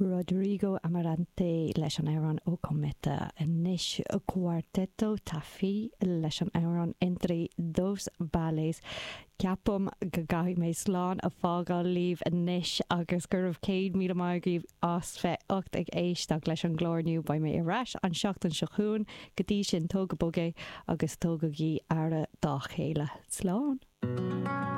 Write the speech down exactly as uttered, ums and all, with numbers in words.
Rodrigo Amarante leis an amhrán O Cometa anois Cuarteto Tafí leis an amhrán Entre dos Vales. Ceapaim go gcaithfidh mé slán a fhágáil libh anois agus go raibh céad míle maith agaibh as bheith ucht ag éisteacht leis an gclár inniu beidh mé ar ais an seachtain seo chugainn go dtí sin tóg go bog é agus tugaigí aire dá chéile. Slán.